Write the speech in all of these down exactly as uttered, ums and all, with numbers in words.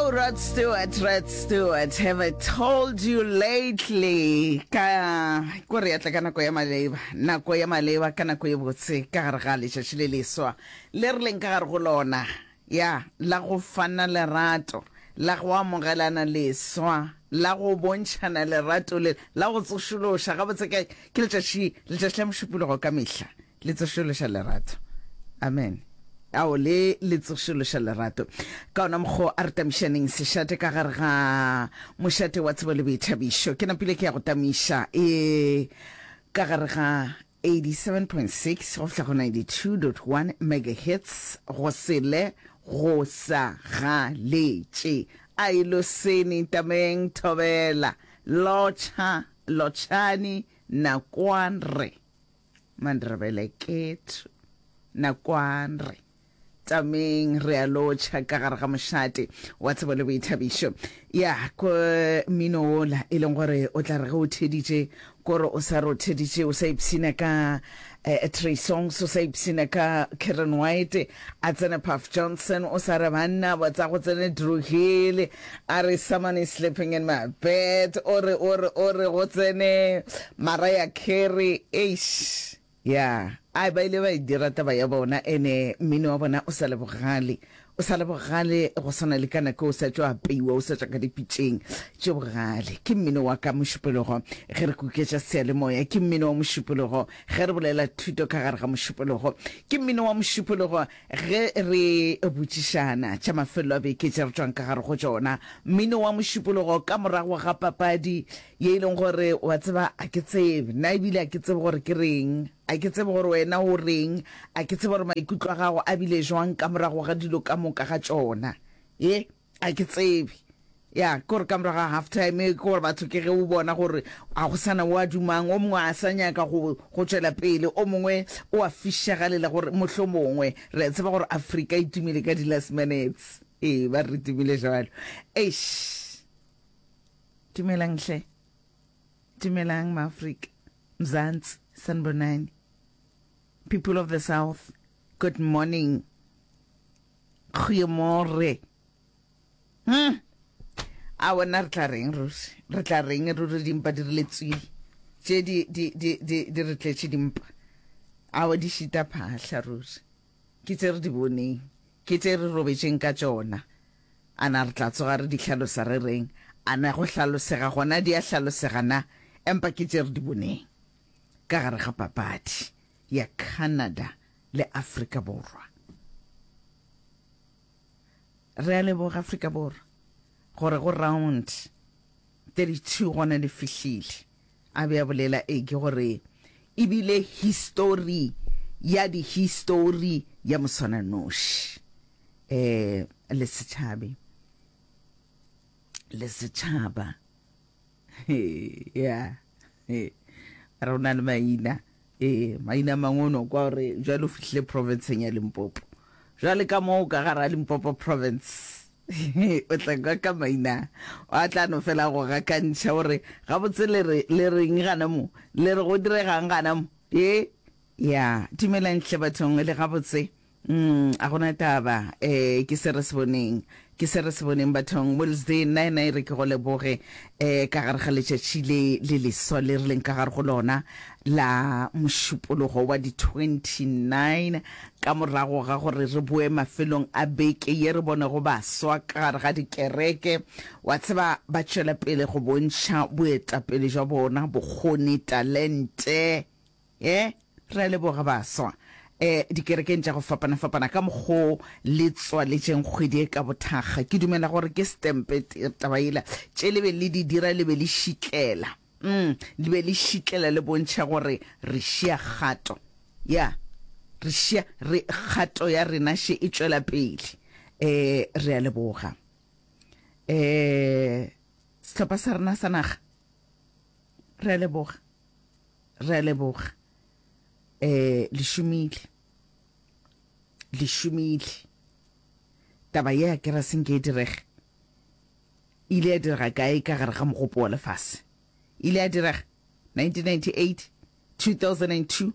Oh, Rod Stewart, Rod Stewart, have I told you lately? Ka ko re atla ka nako ya maleba, nako ya maleba ka nako ye botse ka gare ga letšatši le leswa le re leng ka gare go lona, ya la go fana lerato, la go amogelana leswa, la go bontšhana lerato le la go tsošološa gabotse ke ke letšatši letšatši la Mošupologo ka mehla le tsošološa lerato. Amen. Ao le le tsošološa lerato. Ka ona mokgo a re tamišaneng sešate ka gare ga mošate wa tsebo le boithabišo. Ke napile ke ya go tamiša e ka gare ga eighty-seven point six go fihla go ninety-two point one megahertz go sele go sa galetše. A e losene tameng thobela lotšha lotšhani nakwanre mandrebele kethu nakwanre tameng re a lotšha ka gare ga mošate wa tsebo le boithabišo. Ya ko mmino wola e leng gore o tla re ge o theditše kore o sa re o theditše o sa ipshina ka eh, Trey Songs, o sa ipshina ka Karen White, a tsene Puff Johnson, o sa re banna ba tsa go tsene Dru Hill, a re someone is sleeping in my bed, o re o re o re go tsene Mariah Carey, eish. Ya, ai ba ile ba e dira taba ya bona, ene mmino wa bona o sa le bogale, o sa le bogale go swana le ka nako o sa tšo apeiwa, o sa tšwa ka dipitšeng tše bogale. Ke mmino wa ka Mošupologo ge re kuketša seyalemoya, ke mmino wa Mošupologo ge re bolela thuto ka gare ga Mošupologo, ke mmino wa Mošupologo ge re botšišana tša mafelelo a beke tše re tšwang ka gare go tšona, mmino wa Mošupologo ka morago ga papadi ye e leng gore wa tseba a ke tsebe nna ebile a ke tsebe gore ke reng, a ke tsebe gore wena o reng, a ke tsebe gore maikutlo a gago a bile jwang ka morago ga dilo ka moka ga tšona, ye a ke tsebe. Ya ke gore ka morago ga half time ke gore batho ke ge o bona gore a go sana o a dumang, o mongwe a sa nyaka go go tšwela pele, o mongwe o a fišagalela gore mohlomongwe re a tseba gore Afrika e tumile ka di last minutes, ee ba re tumile jwalo. Eish, dumelang hle, dumelang maAfrika, Mzansi, sanibonani, people of the South, good morning, goeiemorgen. Hmm. A bona re tla reng ruri, re tla reng ruri, dimpa di re letswile tše di di di di di re tletše dimpa, awa di šita phahla ruri, ke tše re di boneng, ke tše re robetšeng ka tšona. Ana re tla tsoga re di hlalosa re reng? Ana go hlalosega gona di a hlalosega na? Empa ke tše re di boneng ka gare ga papadi ya Canada le Afrika Borwa. Re a leboga Afrika Borwa gore go round thirty-two gona le fihlile. A be a bolela e ke gore ebile history ya di history ya moswananoši eh le setšhabe le setšhaba ya re o na le maina, ee maina a mangwe o no kwa gore jwale o fihlile provinceng ya Limpopo, jwale ka moo ka gara Limpopo province o tla kwa ka maina a tla no fela go gakantšha gore gabotse le re le reng gana mo, le re go diregang gana mo. Ye ya dumelang hle bathong le gabotse. Mm, a gona taba, eh ke se re se boneng, ke se re se boneng bathong. Wednesday nna ena e re ke go leboge eh ka gare ga letšatši le le leswa le re leng ka gare go lona la Mošupologo wa di twenty-nine, ka morago ga gore re boe mafelong a beke ye re bonego baswa ka gare ga dikereke, wa tseba ba tšwela pele go bontšha boetapele jwa bona, bokgoni, talente. Ye re a leboga baswa eh dikerekeng tša go fapana-fapana ka mokgo le tswaletšeng kgwedi e ka bothakga. Ke dumela gore ke stempe taba yela tše le be le di dira, le be le šitlela, mm, le be le šitlela le bontšha gore re šia kgato ya re šia re kgato ya rena še e tšwela pele. Eh re a leboga eh sehlopha sa rena sa naga, re a leboga, re a leboga. Eh le šomile, le šomile. Taba ye ke ra senke e direge, ile ya direga kae ka gare ga mogopo wa lefase? Ile ya direga nineteen ninety-eight, two thousand and two,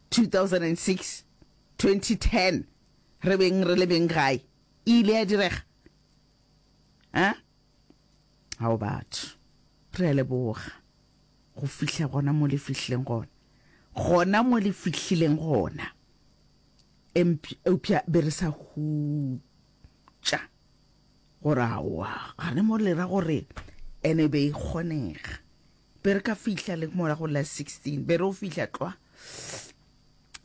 two thousand and six, twenty ten, re beng re le beng gae, ile ya direga. A ao batho, re a leboga go fihla gona mo le fihlileng gona, gona mo le fihlileng gona. Eupša be re sa hutša gore aowa gane mo le ra gore ene be e kgonega. Be re ka fihla le mola go la sixteen, be re o fihla tlwa.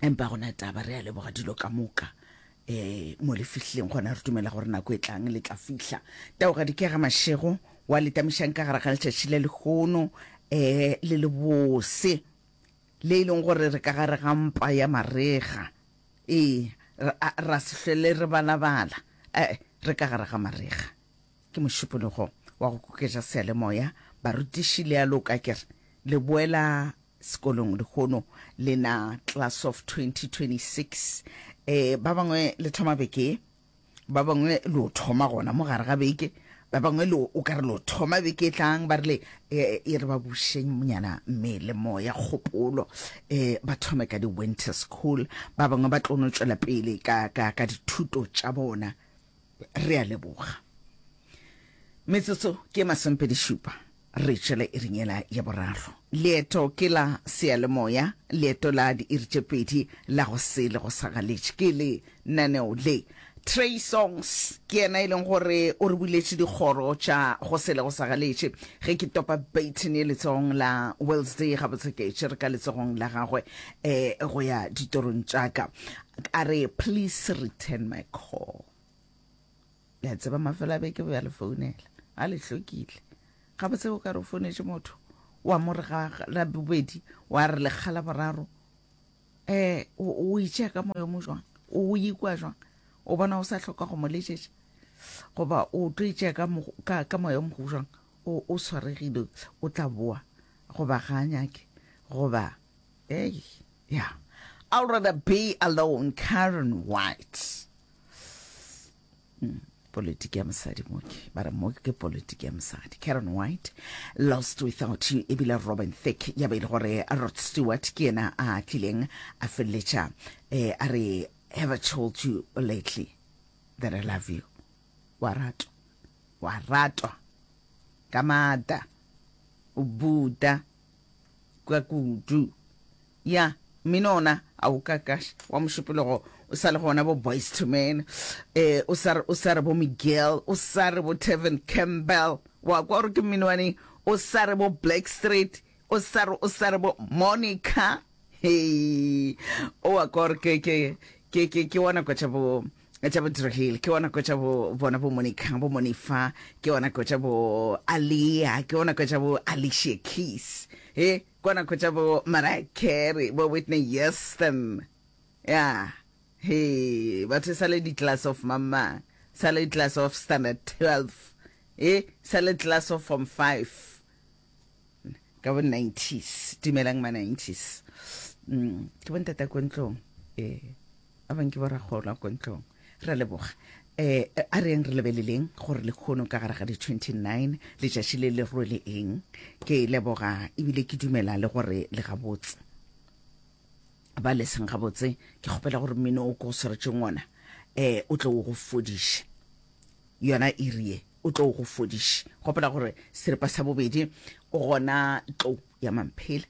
Empa gona taba, re a leboga dilo ka moka um mo le fihlileng gona. Re dumela gore nako e tlang le tla fihla. Taogadi ke ga Mašego wa le tamišang ka gare ga letšatši le lehono um le le bose le e leng gore re ka gare ga mpa ya marega. Ee, ra se hlwele re balabala, ee, re ka gare ga marega. Ke mošupologo wa go kuketša seyalemoya. Barutiši le a loka, ke re le boela sekolong lehono le na class of twenty twenty-six. Eh, ba bangwe le thoma beke, ba bangwe le o thoma gona mo gare ga beke, ba bangwe le o ka re le o thoma beke e tlang. Ba rile e re ba bušeng nyana mmele, moya, kgopolo, eh ba thome ka di-winter school. Ba bangwe ba tlo no tšwela pele ka, ka, ka dithuto tša bona. Re a leboga. Metsotso ke masomepedi šupa re tšwele iring yela ya boraro. Leeto ke la seyalemoya, leeto la diiri tše pedi la go se le go sa galetše ke le naneo le. Trey Songs ke yena e leng gore o re buletše dikgoro tša go se le go sa galetše. Ge ke topa baton ye letsogong la Wednesday, gabotse ke tšere ka letsogong la gagwe um go ya ditorong tša ka. A re please return my call. Le a tseba mafelo a beke bo ya le founela a le hlokile. Gabotse o ka re o founetše motho wa mo re ga la bobedi, wa re lekga la boraro, um o itšea ka moyo mo jwang, o ikwa jwang, o bona o sa hloka go mo letšetša, goba o tlo itšea ka, ka, ka moyo mo jwang, o, o swaregile, o tla boa, goba ga a nyake, goba ei yeah. I'd rather be alone, Karen White. Mm. Politiki ya mosadi mo ke ba re mo ke politiki ya mosadi. Karen White, Lost Without You. Ebile Robin Thicke ya be e le gore Rod Stewart ke yena a tlileng a feleletša eh, a re have I told you lately that I love you. Wa ratwa, wa ratwa ka maata, o buta ka kudu ya mmino ona a o kakaše wa mošupologo. O sa le gona bo Boyz two Men, eh o sa o sa re bo Miguel, o sa re bo Tevin Campbell, wa kwa gore ke mmino wane, o sa re bo Black Street, o sa re o sa re bo Monica. Hey, o wa kwa gore ke ke ke ke ke wana kwa tša bo tša bo Drahil, ke wana kwa tša bo bona bo Monica, bo Monifa, ke wana kwa tša bo Alia, ke wana kwa tša bo Alicia Keys, he ke wana kwa tša bo Mariah Carey, bo Whitney Houston. Ya he batho sa le di class of mama, sa le class of standard twelve, e sa le class of form five ka bo nineties. Dumelang ma nineties. Mm, ke bontata ko ntlong, eh a bang ke borakgolo ko ntlong. Re leboga. Eh a re yeng re lebeleleng gore le kgono ka gare ga di twenty-nine letšatši le le rwele eng. Ke leboga ebile ke dumela le gore le gabotse, ba le seng gabotse ke kgopela gore mmino o ko swaretšeng ona eh o tlo go fodiša yona iri ye, o tlo go fodiša. Gopola gore seripa sa bobedi o gona tlo ya Mamphele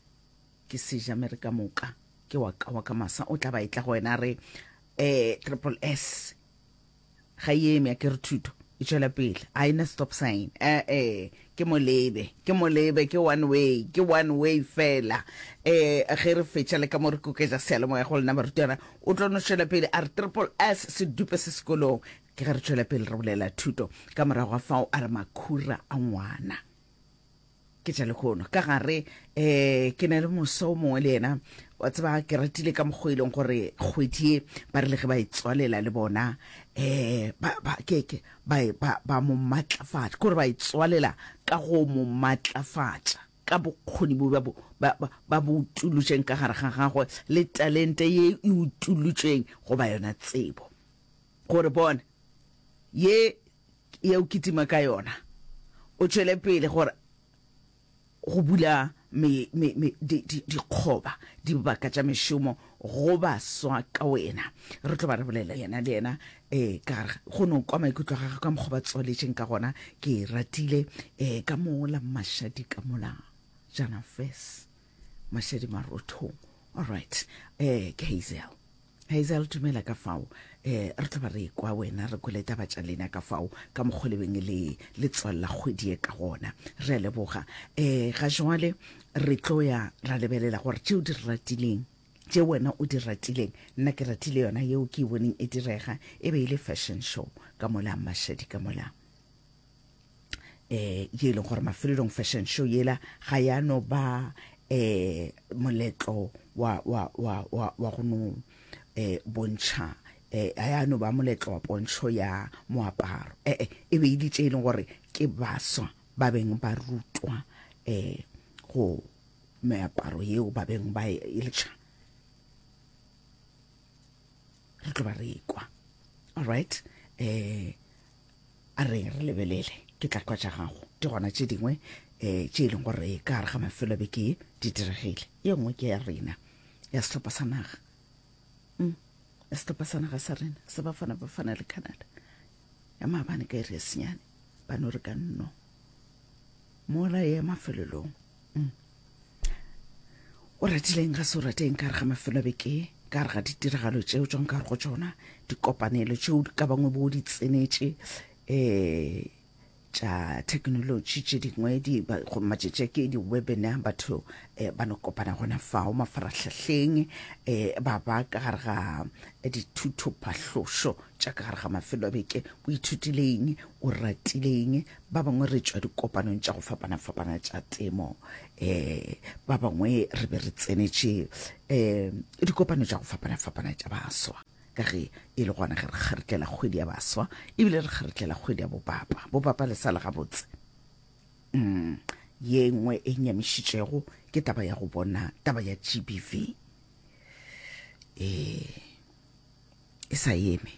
ke seja mere ka moka ke wa ka wa ka masa o tla ba e tla go wena re eh Triple S ga e eme, a ke re thuto e tšwela pele, a ena stop sign. Eh eh ke molebe, ke molebe, ke one way, ke one way fela. Eh ge re fetša le ka mo re koketša seyalemoya go lena barutwana, o tlo no tšwela pele a re Triple S se dupe se sekolong. Ke ge re tšwela pele re bolela thuto ka morago ga fao a re makhura a ngwana ke tša lehono ka gare. Eh ke na le moso o mongwe le yena wa tseba ke ratile ka mokgwa e leng gore kgwedi ye ba re le ge ba e tswalela le bona eh ba ba ke ke ba ba ba mo matlafatša, kore ba e tswalela ka go mo matlafatša ka bokgoni bo ba ba ba bo utulotšeng ka gare ga gagwe le talente ye e utulotšeng goba yona tsebo gore bona ye ye o kitima ka yona o tšwele pele gore go bula me, me, me, di, di, dikgoba dibaka tša mešomo go baswa ka wena. Re tlo ba re bolela yena le yena um ka gare go no kwa maikutlo a gagwe ka mokgwa ba tswaletšeng ka gona. Ke e ratile um ka mola Mashadi ka mola Jana Fes Mashadi Marothong. All right, um ke Hazel. Hazel, dumela ka fao. um re tlo ba re kwa wena, re kwele taba tša lena ka fao ka mokgwa le beng le le tswalela kgwedi e ka gona. Re a leboga. um Ga jwale re tlo ya ra lebelela gore tšeo di ratileng, tše wena o di ratileng. Nna ke ratile yona yeo ke e boneng e direga, e be e le fashion show ka mola Mashadi ka mola eh ye e leng gore mafelelong fashion show yela ga ya no ba eh moletlo wa wa wa wa wa go no eh bontšha, eh ga ya no ba moletlo wa pontšho ya moaparo, eh eh e be e le tše e leng gore ke baswa ba beng ba rutwa eh go meaparo yeo ba beng ba e letša. Re tlo ba re kwa. All right, eh a re re lebelele ke tla kwa tša gago. Di gona tše dingwe um tše e leng gore ka gare ga mafelo a beke di diregile. Ye nngwe ke ya rena ya sehlopha sa naga, mm, ya sehlopha sa naga sa rena sa Bafana Bafana le Canada ya maabane ka iri ya senyane, ba no re ka nno mola ye mafelelong. mm. O ratileng ga se o rateng ka gare ga mafelo a beke, ka gare ga ditiragalo tšeo tšwang ka gare go tšona, dikopanelo tšeo ka bangwe bo di tsenetše um tša technology tše dingwe di go matšatši a ke di-webinar, batho eh, ba no kopana gona fao mafarahlahleng, eh, ba ba ka gare ga dithutophahlošo tša ka gare ga mafelo a beke. O ithutileng, o ratileng? Ba bangwe re tšwa dikopanong tša go fapana-fapana tša temo, eh, ba bangwe re be re tsenetše eh, dikopano tša go fapana-fapana tša baswa, ka ge e le gona ge re kgaretlela kgwedi ya baswa, ebile re kgaretlela kgwedi ya bopapa. Bopapa le sa le gabotse. mm. Ye nngwe e nyamišitšego ke taba ya go bona taba ya G B V e e sa eme,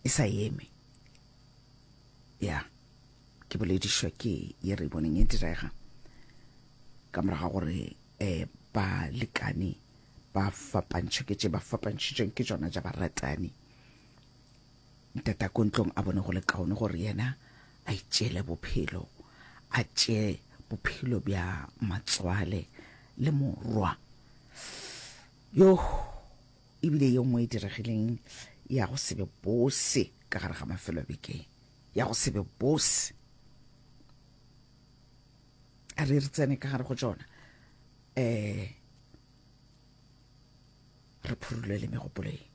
e sa eme ya ke boledišwa ke ye re boneng e direga ka morago ga gore um balekane ba fapantšhwe ke tše ba fapantšhitšweng ke tšona tša baratani. Ntata ko ntlong a bone go le kaone gore yena a itšeele bophelo, a tšee bophelo bja matswale le morwa yo. Ebile ye nngwe e diregileng ya go se be bose ka gare ga mafelo a beke, ya go se be bose, a re re tsene ka gare go tšona um re phurulele megopolo ye.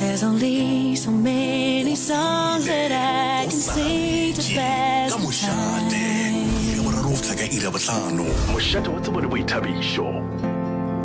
There's only so many songs that I can sing to pass ka the mošate time. Iri ya boraro go fihla ka iri ya bohlano. Mošate wa tsebo le boithabišo.